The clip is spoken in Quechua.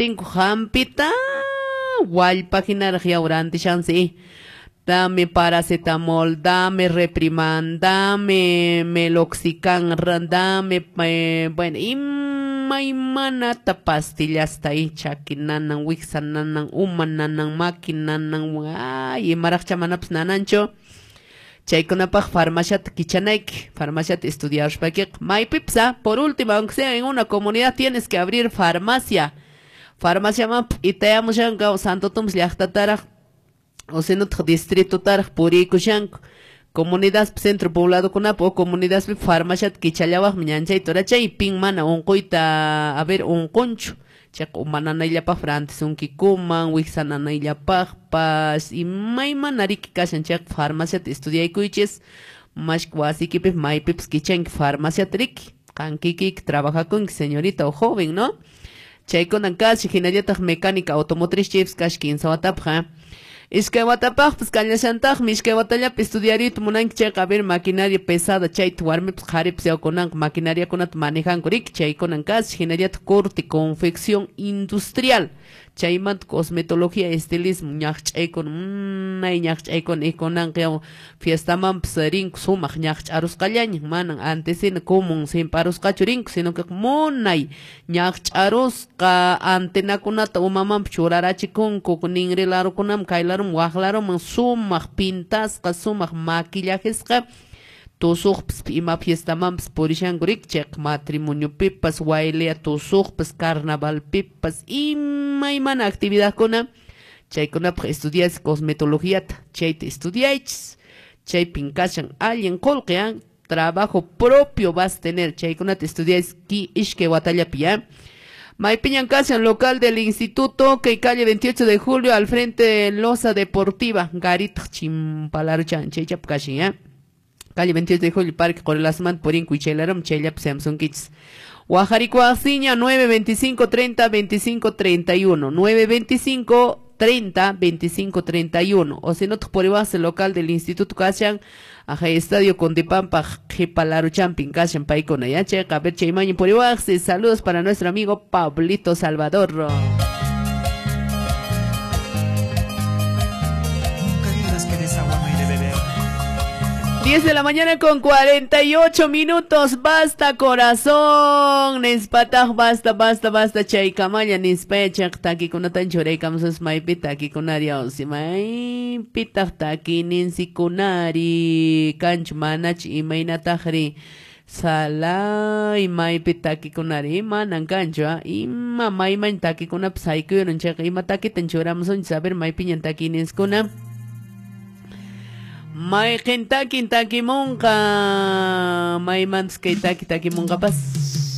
rantinku hampita wallpa hinaraq yaw rantishansi. Dame paracetamol, dame Repriman, dame meloxicam, dame, bueno, imaymanata pastillasta chaki nanan, wiksa nanan, uma nanan, maki nanan, ay, imaraqcha manapas nananchu. Chaykunapaq farmaciata kichanayki, farmaciata estudiaruspakiqa. Maypipas, por último, aunque sea en una comunidad, tienes que abrir farmacia. Farmaciaman p'itayamushanku Santo Tomás llaqtataraq, o sinotaq distritotaraq puriykushanku. Comunidad centro pobladokunapa o comunidadpi farmaciata kichallawaqmi ñanchayta urachay, pin mana unquyta, a ver, unqunchu. Chayqa uma nanayllapaq rantisunkikuman, wiksa nanayllapaqpas, imaymana riki kashan chayqa farmaciata estudiaykuychis, mashka wasiykipi maypipas kichanki farmaciata riki. Qan kikiyki trabajakunki señorita o joven, ¿no? Chaykunan kashan, hinallataq mecánica automotriz chaypas kashan 15 watapaq, Iskay watapaqpas kallashantaqmi, iskay watallapi estudiariyta munanki chayqa, a ver, maquinaria pesada chayta warmipas qharipas yawkunanqa maquinariakunata manejanku riki, chaykunan kashan, hinallataq corte, confección industrial, chaymanta cosmetología, estilismo, ñaqch'aykuna, munay ñaqch'aykuna ikunanqa yaw fiestamanpas rinku sumaq ñaqch'arusqallaña, manan antes hina común simparusqachu rinku, sino que munay ñaqch'arusqa antenakunata umamanpas churarachikunku, ninri larukunaman, kay laruman, waq laruman, sumaq pintasqa, sumaq maquillajesqa, tusuqpas ima fiestamanpas purishanku riki, chayqa matrimoniopipas, waylea tusuqpas, carnavalpipas, imaymana actividadkuna, chaykunapaq estudias cosmetologiata, chayta estudiaychis, chaypin kashan allin qullqi, trabajo propio vas a tener, chaykunata estudiáis ki iskay watallapi, ya. Maypiñan kashan local del instituto, que calle 28 de julio, al frente de Loza Deportiva, Garitaq chimpalaruchan, chaychap kashan, ya. Calle 28 de julio, Parque Qorelasmanta, purinku ichaylarum, chayllapi samsunkichis. Wajarikuasiña, 925 30 25 31, 925 30 25 31. O si no, por igual el local del Instituto kashan, aja Estadio Condipampa, Jipalaruchampin, kashan, paykuna, ya, che, a ver, chaymaño por igual. Saludos para nuestro amigo Pablito Salvador. Nunca digas que de esa agua no hay de beber. 10 de la mañana con 48 minutos. Basta, corazón. Nispataj, basta, basta, basta. Chaykamalla, nispayachaq takikunatan churaykamusas maypi takikunari awsi. Maypitaq takininsikunari. Kanchu manach imaynatajri. Salay maypi takikunari. Manan kanchu, ima mayman takikunapas haykuyurun chayqa ima takitan churamusunchis. A ver, maypiñan takininsikuna. Mayqin takin takimunqa, maymantas kay taki takimunqapas.